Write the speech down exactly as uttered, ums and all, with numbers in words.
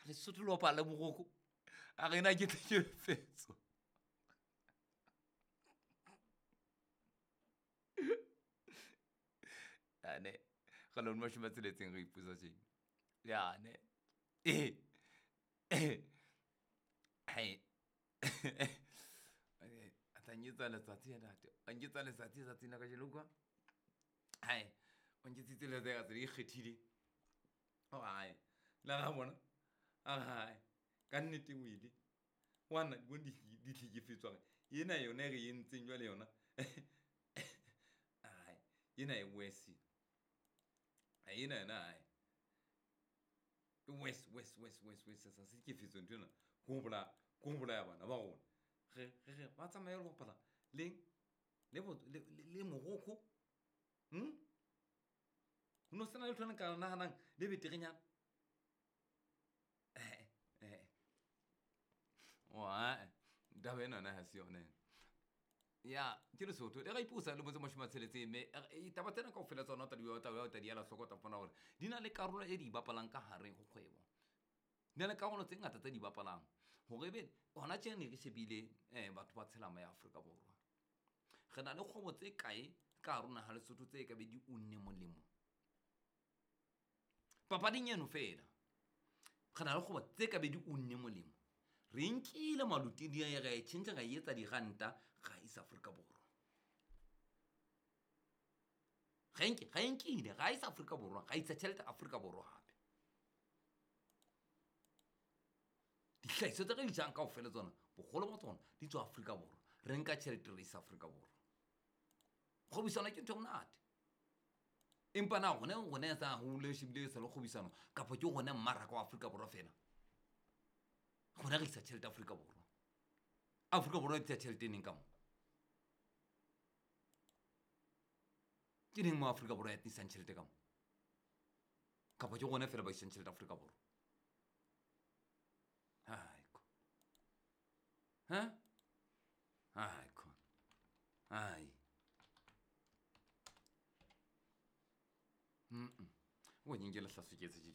Lesotho le bapala le Morocco a rena ke tlhekefetso. Ane ga lone mashome a tsheletseng re ipotsa tjena. Ya ne. Eh. Hai. A tla nketsa letsatsi ya ntate. A nketsa letsatsi tsatsing la kajeno utlwa. Hai. O nketsitse letsatsi ka tsela e ikgethileng. Oh hai. La ra bona. A hai. Ka nnete o ile. Wana di bone di tlhekefetswa. Ena yona e re entseng jwale yona. Ai, ena e worse. Ena yona ai. E worse, worse, worse, worse, worse. Sa se tlhekefetso ntho ena. Ke ho bolaya, ke ho bolaya bana ba rona. Re re re ba tsamaye ho bapala le le le le Morocco. Hm? Ho no sena letho le nka nahanang le beterenyana. Eh eh. Wa, taba ena yona ha se yona. Ya, ke Lesotho. Le ra ipusa le motse mashome a tsheletseng mme taba tsena kaofela tsona o tla di o tla di ela hloko, o tla fumana hore di na le karolo e di bapalang ka hare ho kgwebo. Di na le karolo tse ngata tse di bapalang. Hore ebe hona tje ne re shebile batho ba tshelama ya Afrika Borwa. Re na le kgwebo tse kae ka hare ho naha Lesotho tse ka be di unne molemo. Papading eno feela. Re na le kgwebo tse ka be di unne molemo. Re nkile malotidi a ra e tjhentjha ra e etsa diranta ra isa Afrika Borwa. Ra nke ra nkile ra isa Afrika Borwa, ra isa tjhelete Afrika Borwa hape. Dihlahiswa tse re di jang kaofela tsona, boholo ba tsona di tswa Afrika Borwa. Re nka tjhelete re isa Afrika Borwa. Kgwebisano ke ntho e monate. Empa na rona rona sa hole shebile sa le kgwebisano kapa ke rona mmaraka wa Afrika Borwa feela. Rona re isa tjhelete Afrika Borwa. Afrika Borwa e tlisa tjhelete neng ka mo? Ke neng mo Afrika Borwa ya tlisang tjhelete ka mo? Kapa ke rona feela ba isang tjhelete Afrika Borwa? Hai ko. Ha? Hai ko. Hai. Mm. O nyenyele hlaso ke tse di